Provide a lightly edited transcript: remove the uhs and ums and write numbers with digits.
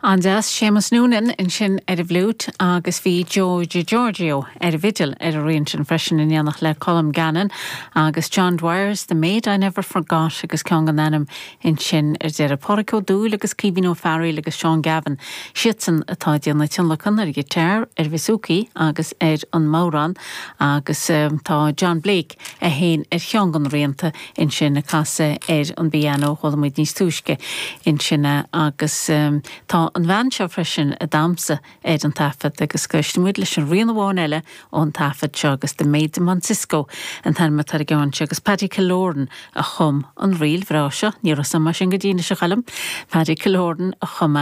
An-deas, Séamus Noonan ansin ar an bhfliúit agus bhí Joe DiGiorgio ar an bhfidil ar an rian sin freisin in éineacht le Colm Gannon agus John Dwyer's The Maid I Never Forgot agus ceann gan ainm ansin ar deireadh. Pádraic Ó Dúill agus Caoimhín Ó Fearaíl agus Seán Gavin, siadsan atá ag déanamh tionlacan ar an ghiotár, ar bhouzouki agus ar an mbodhrán agus tá John Blake é féin ar cheann de na rianta ansin ag casadh ar an bpianó, chuala muid níos túisce ansin é agus tá an bhean seo freisin ag damhsa ar an taifead agus éistfidh muid leis an rian amháin eile ón taifead seo agus The Maids of Monsisco an t-ainm atá ar an gceann seo agus Paddy Killoran a chum an ríl bhreá seo, ní raibh a fhios agam é sin go dtí anois a Choilm, Paddy Killoran a chum é.